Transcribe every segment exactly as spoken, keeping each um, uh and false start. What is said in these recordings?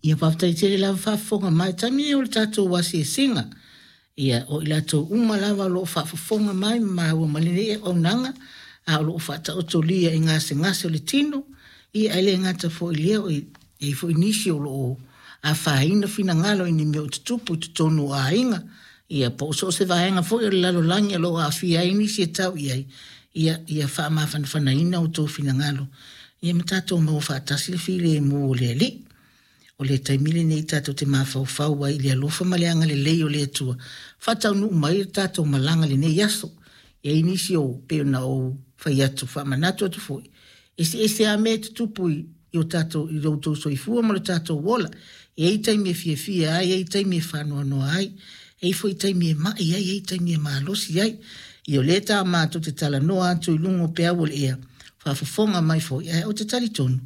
Ia faafetai tele lava faafofoga mai taimi o le tatou asiasiga. Ia o i latou uma lava o lo o faafofoga mai ma maua mai lenei auaunaga, a o lo o faataotolia i gasegase o le tino, ia ae le gata foi i lea, o i ai foi nisi o lo o afaina finagalo i ni mea o tutupu i totonu o aiga, ia po o so o se vaega foi o le lalolagi o lo o aafia ai nisi e tau i ai, ia, ia faamafanafanaina outou finagalo, ia ma tatou maua faatasi le filemu o le Alii. O le taimi lenei tatou te mafaufau ai i le alofa ma le agalelei o le Atua, faataunuu mai le tatou malaga i lenei aso. E i ai nisi o pei ona ou fai atu, faamanatu atu foi, eseese lava mea e tutupu i, i o tatou, i lo outou soifua ma lo tatou ola. E i ai taimi e fiafia ai, e i ai taimi e faanoanoa ai, e i ai foi taimi e mai ai, e i ai taimi e malosi ai. Ia o lea ta matou te talanoa atu i luga o peau o le ea, faafofoga mai foi, ae ou te talitonu,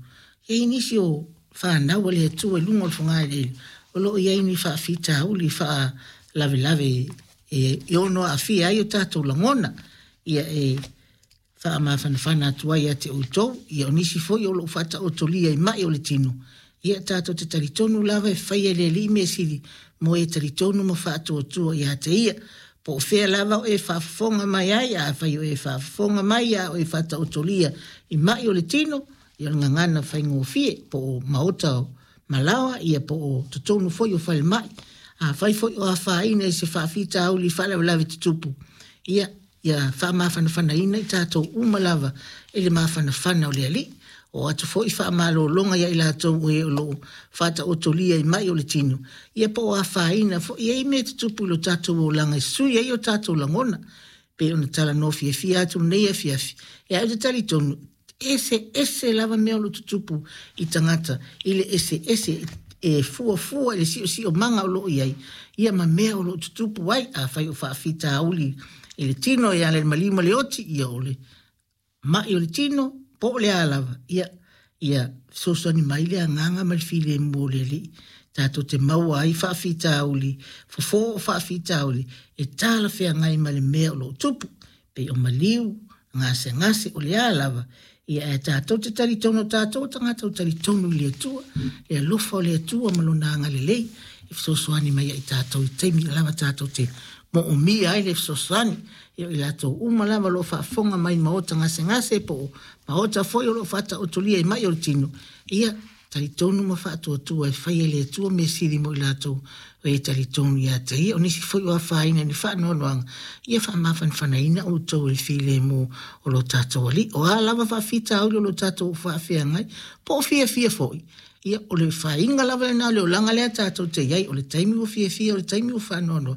e i ai nisi o fanau a le Atua i luga o le fogaeleele, o lo o i ai ni faafitauli faalavelave e, e ono aafia ai o tatou lagona. Ia e faamafanafana atu ai ia te outou, ia o nisi foi o lo o faataotolia i mai o le tino, ia tatou te talitonu lava e faia e le Alii mea sili mo e talitonu ma faatuatua ia te ia. Po o fea lava o e faafofoga mai ai, afai o e faafofoga mai a o e faataotolia i mai o le tino, ia o le gagana faigofie, po o maota o malaoa, ia po o totonu foi o falemai. Afai foi o afaina i se faafitauli faalavelave tutupu, ia, ia faamafanafanaina i tatou uma lava i le mafanafana o le Alii. O atu foi faamalologa ia i latou o e o lo o faataotolia i mai o le tino, ia po o afaina foi, e i ai mea tutupu i lo tatou olaga e sui ai o tatou lagona. Pei ona talanoa fiafia atu lenei afiafi, ia ou te talitonu, ese ese lava mea o lo o tutupu i tagata, i le ese ese e fuafua i le siosiomaga o lo o i ai, ia ma mea o lo o tutupu ai. Afai o faafitauli i le tino e ala i le maliu ma le oti, ia o le mai o le tino, po o le a lava, ia, ia fesoasoani mai le agaga ma le filemu o le Alii. Tatou te maua ai faafitauli, fofo o faafitauli, e talafeagai ma le mea o lo o tupu. Pei o maliu, gasegase, o le a lava, ia ae tatou te talitonu, tatou o tagata o talitonu i le Atua, le alofa o le Atua ma lona agalelei, e fesoasoani mai ai tatou i taimi lava tatou te moomia ai le fesoasoani. Ia o i latou uma lava o lo o faafofoga mai maota gasegase po o maota foi o lo o faataotolia i mai o le tino, ia talitonu ma faatuatua e faia e le Atua mea sili mo i latou o e talitonu ia te ia. O nisi foi o afaina i ni faanoanoaga, ia faamafanafanaina outou i le filemu o lo tatou Alii. O a lava faafitauli o lo tatou faafeagai, po o fiafia foi, ia o le faiga lava lena o le olaga lea tatou te i ai, o le taimi ua fiafia, o le taimi ua faanoanoa.